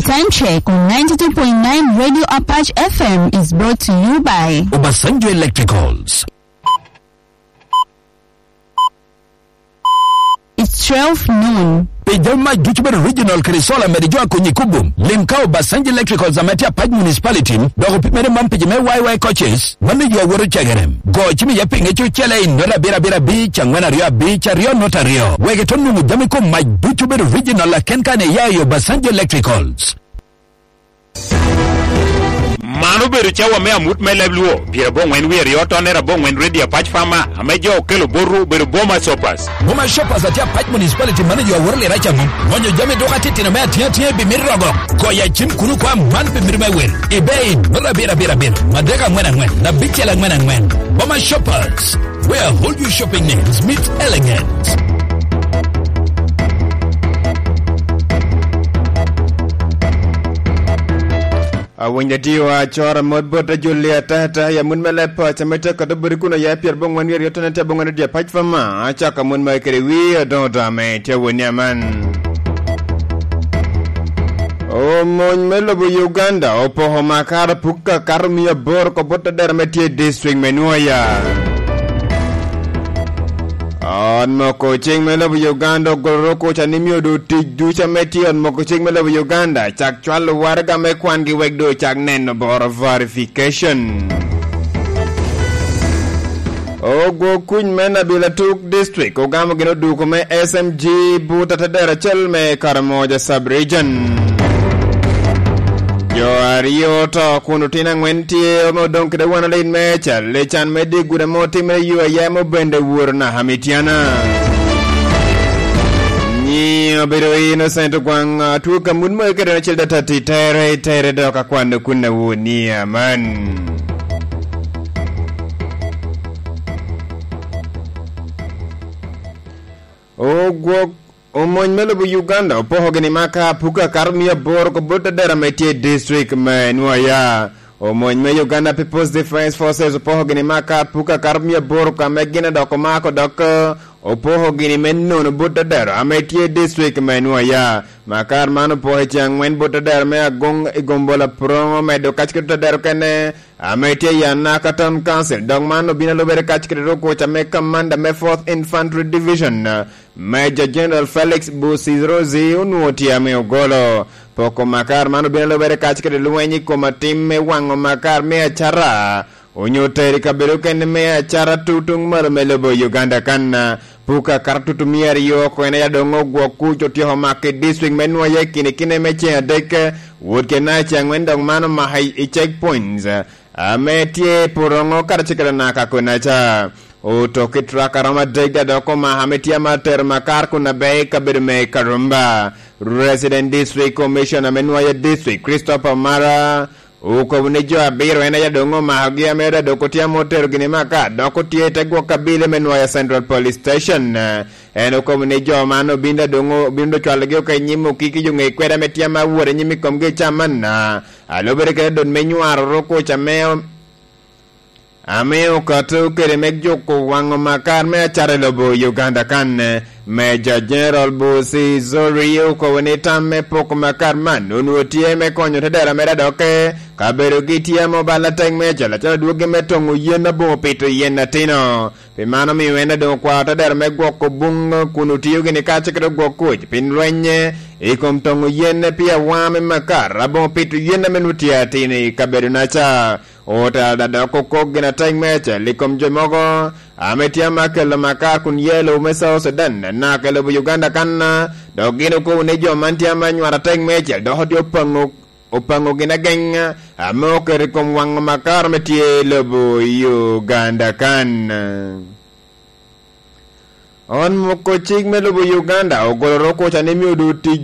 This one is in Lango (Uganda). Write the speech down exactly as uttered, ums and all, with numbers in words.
Time check on ninety-two point nine Radio Apache F M is brought to you by Obasanjo Electricals. It's twelve noon. Pi jami mac ducu bedo regional kede solar, mede jo a konyi i Kubum. Lim ka Obasanjo Electricals ame tye Apac Municipality, dok opimere man pi jo me Y Y coaches, mano yo a woto cegere. Go cim iye pinge cucele i nota abiro abiro abic, angwen aryo abic, aryo nota aryo. Wek ito nwoŋo jami kom mac ducu bedo regional aken kan iya i Obasanjo Electricals. Man obedo cawa me amut me leb Luo, pyerabongwen wie aryo tonner abongwen Radio Apac Farmer, ame jo okelo botwu obedo Boma Shoppers. Boma Shoppers atye Apac Municipality, mano yo aworo lira caŋo. Ŋonyo jami duka titino me atiŋa atiŋa i bimit rogo. Goyo acim kuno kwa man bimit me wil. Ibei, nura abiro abiro abiro, madek angwen angwen, abicel angwen angwen. Boma Shoppers, where all your shopping needs meet elegance. Awinyo diwa acora mot bot ajulli atata, ya mun me leb paca me teko do buri kuno ya pyerabongwen wie aryo tonner tye abongwen Radio Apac Farmer, acaka mun me kede wi odoŋo dame tye woni aman. Omony me lobo Uganda opoko makara puk akato mia aboro ko bot adera me tye i district me Nwoya. Ot moko cik me lobo Uganda ogolo roko ca ni mio do tic duca me tye ot moko cik me lobo Uganda cak cwalo waraga me kwangi wek do cak neno boro verification. Ogwo kuc me Nabil Atuk District ogamo gin oduko me S M G but atadero acel me Karamoja Sub-Region. Jo aryo oto kun otino angwen tye ame odoŋ kede wan alit me cal i can me dye gudo ame otimere yo aya ame obende woro naka Mitiana. Nyi obedo Innocent Ogwaŋ, atwo ka mut mo iketo acel datati tere, tere dok akwano kun awoni aman. Ogwok omony me lobo Uganda opoko gini maka apuka kato mia aboro ko bot adera me tye i district me Nwoya. Omony me Uganda People's Defense Forces opoko gini maka apuka kato mia aboro ka me gin dok omako dok, eh, opoko gini me nono bot adera ame tye i district me Nwoya. Makar man opoko i ceng angwen bot adera me Agong i Gombola Purongo medo kac kede adera kene ame tye i Anaka Town Council, dok man obino alubere kac kede rukuc ame Commander me Fourth Infantry Division, Major General Felix Busirozi onwoŋo tye ame ogolo. Poko makar man obino alubere kac kede lweny i kom atim me waŋo makar me acara, onyo tero i kabedo okene me acara tutuŋ malo me lobo Uganda kan. Puka karatutu mia aryo oko en aye doŋ ogwok kuc otyeko mako i district me Nwoya i kine kine me ceŋ adek, wot kede naka ceŋ angwen dok man omako i, i checkpoints ame tye i Purongo karacel kede Anaka konaca. Otoki truck aromo adek daŋ dok omako ame tye ama tero makar kun abe i kabedo me Karumba. Resident District Commissioner me Nwoya District, Christopher Mara, okobo ni jo abiro en aye doŋ omakogi ame ora dok otye ame otero gini maka dok otye i te gwok abile me Nwoya Central Police Station. En okobo ni jo man obin da doŋ obin da cwalogi oko i nyim okiki jo ŋe kweda ame tye ama wot i nyim i komgi i cam man. Alubere kede dot me nywaro oro kuc ame ame okato kede me juko waŋo makar me acara i lobo Uganda kan. Major General Busi Zori okobo ni tam me poko makar man onwoŋo tye me konyo tedera mere adokke, kabedo gi tye ame obalo atek me acel acel adwogi me toŋo yen aboŋo pito yen atino. Pi mano omio en adoŋ okwao tedera me gwoko buŋ kun otio gini kace kede ogwok kuc pi lweny i kom toŋo yen pi awaŋa me makar aboŋo pito yen ame nwoŋo tye atino i kabedo naca. Otela dok okok gin atek me acel i kom jo mogo ame tye ama kelo makar kun ye lobo me South Sudan, naka i lobo Uganda kan, dok gin okobo ni jo man tye ama nywat atek me acel dok otye opaŋo, opaŋo gin ageng ame oketo i kom waŋo makar me tye i lobo Uganda kan. Ot moko cik me lobo Uganda ogolo roko ca ni mio do tic